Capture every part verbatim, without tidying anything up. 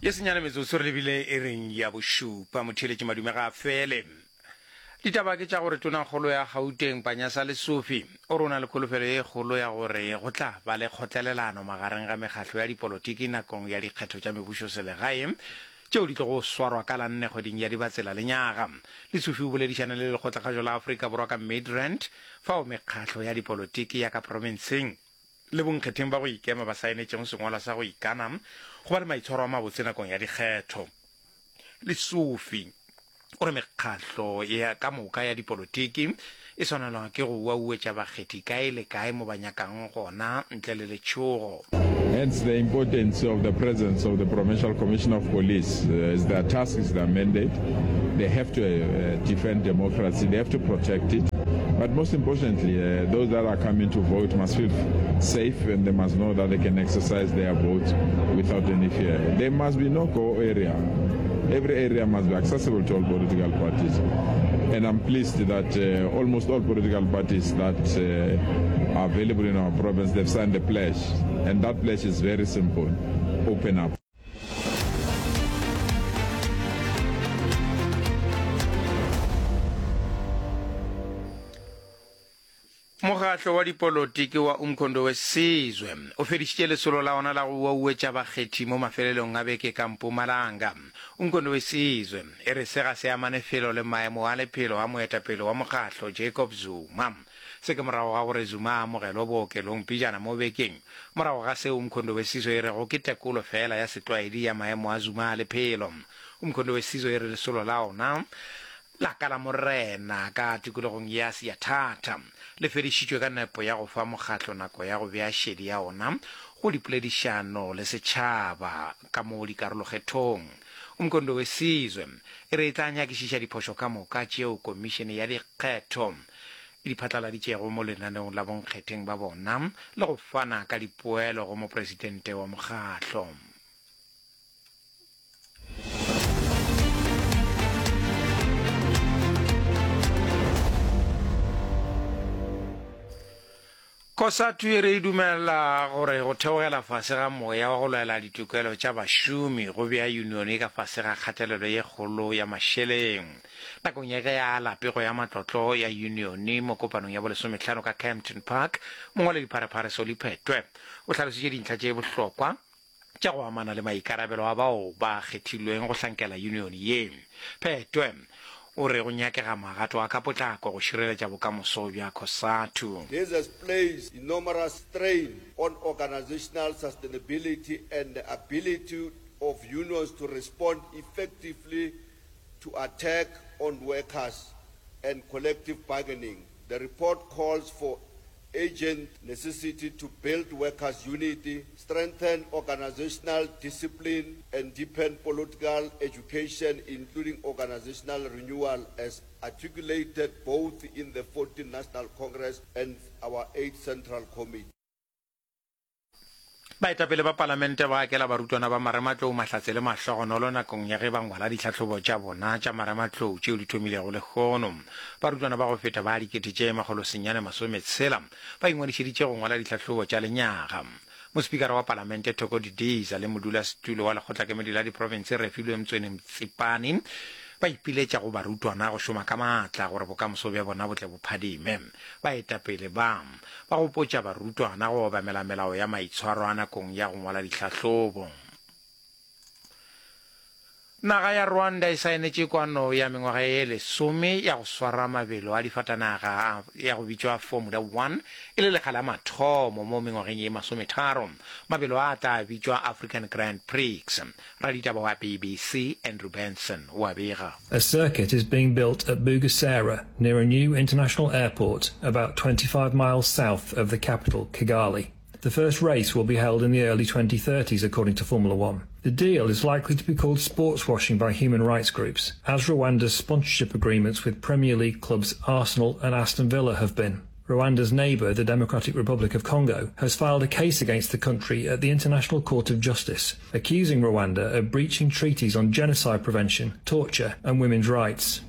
Ye senyane metsotso re lebile iring ya bošupa, motheeletši madume ga a fele. Ditaba ke tša gore Tonakgolo ya Gauteng Panyaza Lesufi o re o na le kholofelo ye kgolo ya gore go tla ba le kgotlelelano magareng ga mekgahlo ya dipolotiki nakong ya dikgetho tša mebušoselegae tšeo di tlogo swarwa ka la nne kgweding ya Dibatsela lenyaga. Lesufi o boledišane le Lekgotlakgašo la Afrika Borwa ka Midrand fao mekgahlo ya dipolotiki ya ka profenseng le bonkgetheng ba go ikema ba saenetšego sengwalwa sa go ikana go ba le maitshwaro a mabotse nakong ya dikgetho. Lesufi o re mekgahlo ya ka moka ya dipolotiki e swanelwa ke go uauetša bakgethi kae le kae mo ba nyakang gona ntle le letšhogo. Hence the importance of the presence of the Provincial Commissioner of Police. Uh, it's their task, it's their mandate. They have to uh, defend democracy, they have to protect it. But most importantly, uh, those that are coming to vote must feel safe and they must know that they can exercise their vote without any fear. There must be no go area. Every area must be accessible to all political parties. And I'm pleased that uh, almost all political parties that uh, are available in our province, they've signed the pledge. And that pledge is very simple. Open up. Mokgatlo wa dipolotiki wa Umkhonto we Sizwe o fedišitše lesolo la ona la go uauetša bakgethi mo mafelelong a beke ka Mpumalanga. Umkhonto we Sizwe e re se ga se amane felo le maemo a lephelo a moetapele wa mokgatlo Jacob Zuma. Se ke morago ga gore Zuma a amogelwe bookelong pejana mo bekeng. Morago ga seo Umkhonto we Sizwe e rego ke tekolo fela ya setlwaedi ya maemo a Zuma a lephelo. Umkhonto we Sizwe e re lesolo la ona la ka la Morena ka tikologong ya Siyathatha le fedišitšwe ka nepo ya go fa mokgatlo nako ya go bea šedi ya ona go dipoledišano le setšhaba ka mo dikarolokgethong. Umkhonto we Sizwe e re e tla nyakišiša diphošo ka moka tšeo komišene ya dikgetho e di phatlaladitšego mo lenaneong la bonkgetheng ba bona le go fana ka dipoelo go mopresidente wa mokgatlo. Cosatu e re e dumela gore go theogela fase ga moya wa go lwela ditokelo tša bašomi go bea yunione ka fase ga kgatelelo ye kgolo ya mašeleng. Nakong ya ge a ala pego ya matlotlo ya yunione mo kopanong ya bolesomehlano ka Kempton Park, mongwaledipharephare Solly Phetoe o hlalositše dintlha tše bohlokwa tša go amana le maikarabelo a bao ba kgethilweng go hlankela yunione ye. Phetoe o re go nyakega magato a ka potlako go šireletša bokamoso bja Cosatu. This has placed enormous strain on organizational sustainability and the ability of unions to respond effectively to attack on workers and collective bargaining. The report calls for urgent necessity to build workers' unity, strengthen organizational discipline, and deepen political education, including organizational renewal, as articulated both in the fourteenth National Congress and our eighth Central Committee. Baetapele ba Palamente ba akela barutwana ba marematlou mahlatse le mahlogonolo nakong ya ge ba ngwala ditlhahlobo tša bona tša marematlou tšeo di thomilego lehono. Barutwana ba go feta ba dikete tše makgolo senyane masometshela ba ingwadišeditše go ngwala ditlhahlobo tša lenyaga. Mospikara wa Palamente Thoko Didiza le modulasetulo wa lekgotlakemedi la diprofense Refilwe Mtsweni Mtsipane ba ipiletša go barutwana go šoma ka maatla gore bokamoso bja bona bo tle bo phadime. Baetapele ba ba gopotša barutwana go obamela melao ya maitshwaro a nakong ya go ngwala dihlahlobo. Naga ya Rwanda e saenetše kwano ya mengwaga ye lesome ya go swara mabelo a difatanaga ya go bitšwa Formula One e le lekga la mathomo mo mengwageng ye masometharo. Mabelo a a tla bitšwa African Grand Prix. Raditaba wa B B C Andrew Benson o a bega. A circuit is being built at Bugesera near a new international airport about twenty-five miles south of the capital, Kigali. The first race will be held in the early twenty thirties, according to Formula One. The deal is likely to be called sports washing by human rights groups, as Rwanda's sponsorship agreements with Premier League clubs Arsenal and Aston Villa have been. Rwanda's neighbour, the Democratic Republic of Congo, has filed a case against the country at the International Court of Justice, accusing Rwanda of breaching treaties on genocide prevention, torture, and women's rights.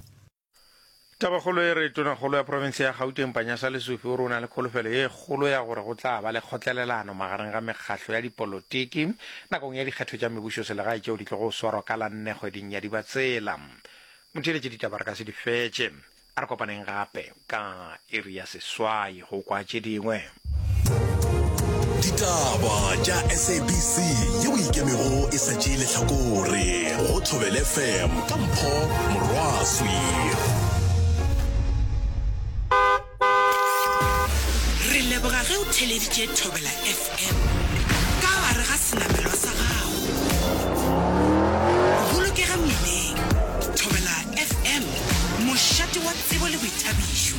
Tabakgolo e re Tonakgolo ya profense ya Gauteng Panyaza Lesufi o re o na le kholofelo ye kgolo ya gore go tla ba le kgotlelelano magareng ga mekgahlo ya dipolotiki nakong ya dikgetho tša mebušoselegae tšeo di tlogo swarwa ka la nne kgweding ya Dibatsela. Motheeletši ditaba re ka se di fetše. A re kopaneng gape ka iri ya seswai go kwa tše dingwe. Ditaba tša S A B C yeo e ikemego e sa tšee lehlakore go Thobela F M ka Mpho Morwaswi. Re leboga ge o theeleditše Thobela F M ka gare ga senamelwa sa gago. Bolokega mmileng. Thobela F M, mošate wa tsebo le boithabišo.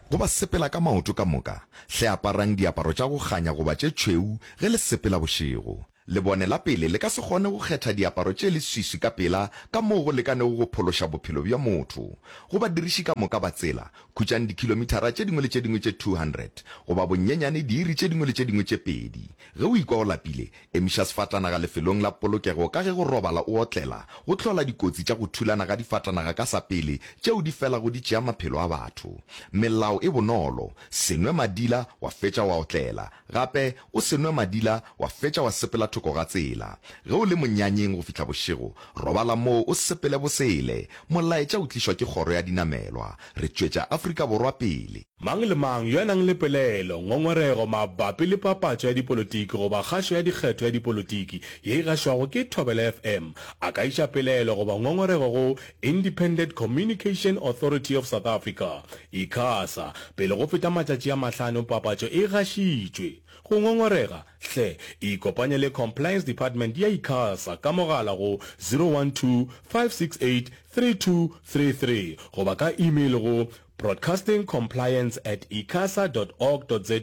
Go ba sepela ka maoto ka moka, hle aparang diaparo tša go kganya goba tše tšhweu ge le sepela bošego. Lebone la pele le ka se kgone go kgetha diaparo tše leswiswi ka pela ka moo go lekanego go phološa bophelo bja motho. Go badiriši ka moka ba tsela, khutšang dikhilomithara tše dingwe le tše dingwe tše two hundred goba bonyenyane diiri tše dingwe le tše dingwe tše pedi. Ge o ikwa o lapile, emiša sefatanaga lefelong la polokego ka ge go robala o otlela go hlola dikotsi tša go thulana ga difatanaga ka sa pele tšeo di felago di tšea maphelo a batho. Melao e bonolo, se nwe madila wa fetša wa otlela, gape o se nwe madila wa fetša wa sepela thoko ga tsela. Ge o le monyanyeng go fihla bošego, robala moo o sepele bosele. Molaetša o tlišwa ke Kgoro ya Dinamelwa. Re tšwetša Afrika Borwa pele. Mang le mang yo a nang le pelaelo, ngongorego mabapi le papatšo ya dipolotiki goba kgašo ya dikgetho ya dipolotiki ye e gašwago ke Thobela F M a ka iša pelaelo goba ngongorego go Independent Communication Authority of South Africa, ICASA, pele go feta matšatši a mahlano papatšo e gašitšwe. Go ngongorega, hle ikopanye le Compliance Department ya ICASA ka mogala go zero one two, five six eight, three two three three goba ka email go broadcastingcompliance at icasa dot org dot za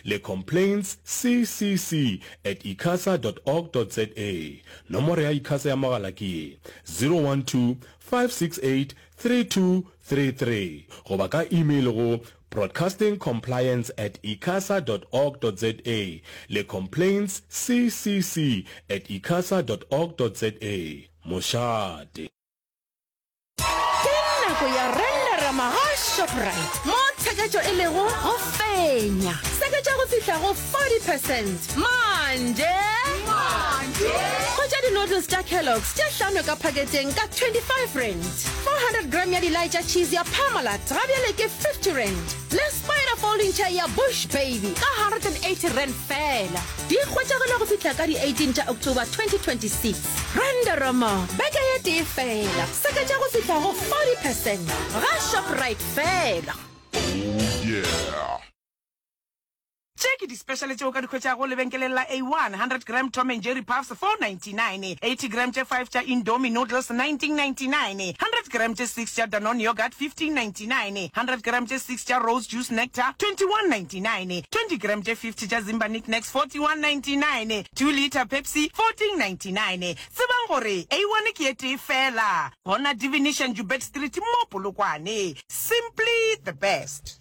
le complaints C C C at icasa dot org dot za. Nomoro ya ICASA ya mogala ke ye, zero one two, five six eight, three two three three goba ka email go broadcastingcompliance at icasa dot org dot za le complaints C C C at icasa dot org dot za. Mošate. Ke nako ya Renderama ga Shoprite, mo tsheketšo e lego go fenya. Seketša go fihla go forty percent manje. Hwetša di-noodles tša Kellogg's tše hlano ka phaketeng ka twenty-five rand, four hundred gram ya dilai tša cheese ya Parmalat ga bjale ke fifty rand, le spider folding chair ya Bush Baby ka one hundred and eighty rand fela. Di hwetšagala go fihla ka di eighteen tša October twenty twenty-six. Renderama beke ye tee fela, seketša go fihla go forty percent ga Shoprite fela. Tše ke di-special tšeo ka di hwetšago lebenkeleng la A one: hundred gram Tom and Jerry Puffs four ninety-nine, eighty gram tše five tša Indomie noodles nineteen ninety-nine, hundred gram tše six tša Danone yogurt fifteen ninety-nine, hundred gram tše six tša Rose Juice Nectar twenty-one ninety-nine, twenty gram tše fifty tša Zimba Knickknacks forty-one ninety-nine, two litre Pepsi fourteen ninety-nine. Tsebang gore A one ke e tee fela gona Divination, Joubert Street mo Polokwane. Simply the best.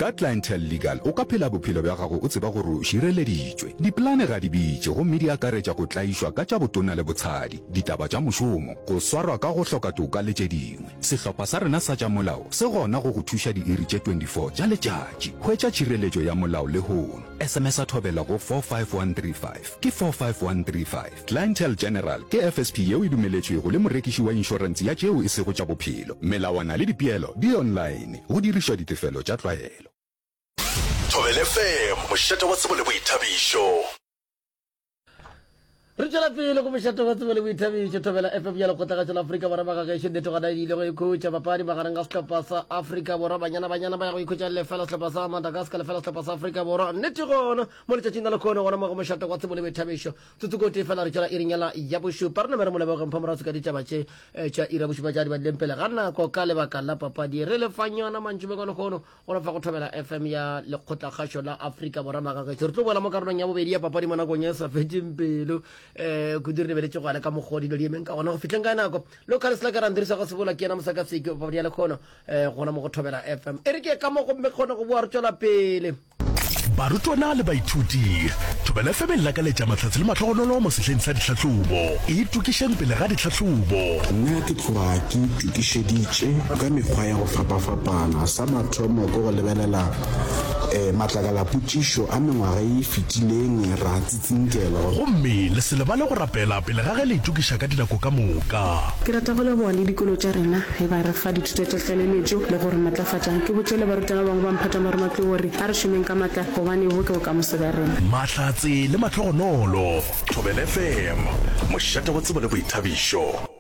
Ka Clientele Legal o ka phela bophelo bja gago o tseba gore o šireleditšwe. Dipolane ga di bitše gomme di akaretša go tlaišwa ka tša botona le botshadi, ditaba tša mošomo, go swarwa ka go hloka toka le tše dingwe. Sehlopha sa rena sa tša molao se gona go go thuša diiri tše twenty-four tša letšatši. Hwetša tšhireletšo ya molao lehono. S M S a Thobela go four five one three five. Ke four five one three five. Clientele General ke F S P yeo e dumeletšwego le morekiši wa inšorense ya tšeo e sego tša bophelo. Melawana le dipeelo di online. Go dirišwa ditefelo tša tlwaelo. Thobela F M, mošate wa tsebo le boithabišo. Re tšwela pele go mošate wa tsebo le boithabišo, Thobela F M ya Lekgotlagašo la Afrika Borwa. Magagešo, nnete gona e ile go ikhutša papadi magareng ga sehlopha sa Afrika Borwa Banyana Banyana ba ya go ikhutša lefela sehlopha sa Madagascar lefela sehlopha sa Afrika Borwa. Nnete gona mo letšatšing la lekgono gona mo go mošate wa tsebo le boithabišo, tsotsokoti fela re tšwela iring yela ya bošupa. Re name re mo lebogeng Phamorase ka ditaba tše eh, tša ira bošupa tša di badileng pele ga nako ka lebaka la papadi. Re lefang yona mantšibeng a lekgono gona fa go Thobela F M ya Lekgotlakgašo la Afrika Borwa. Magagešo, re tlo boela mo karolong ya bobedi ya papadi mo nakong e sa fetšeng pelo, um kudu re lebeletše go ale ka mokgwa dilo di emeng ka gona go fihleng ka nako. Local slacker Andrisa go sebola ke yena mosakaseki wa papadi ya lekgono um gona mo go Thobela F M. E re ke ka mo gomme kgone go boa re tšwela pele. Barutwana le baithuti, Thobela FM e le lakaletša mahlatse le mahlogonolo mo sehleng sa ditlhahlobo. Itokišeng pele ga ditlhahlobo. Nna ke tloga ke itokišeditše ka mekgwa ya go fapafapana. Sa mathomo ke go lebelela matlakalapotšišo a mengwaga ye e fetileng ra tsitsinkelwa. Gomme le se lebale go rapela pele ga ge le itokiša ka dinako ka moka. Ke rata go leboga le dikolo tša rena ge ba re fa dithuto tša tlaleletšo le go re matlafatša. Ke botše le barutwana ba bangwe ba mphato wa marematlou gore a re šomeng ka matla gobane bo ke bokamoso bja rena. Mahlatse le mahlogonolo. Thobela FM, mošate wa tsebo le boithabišo.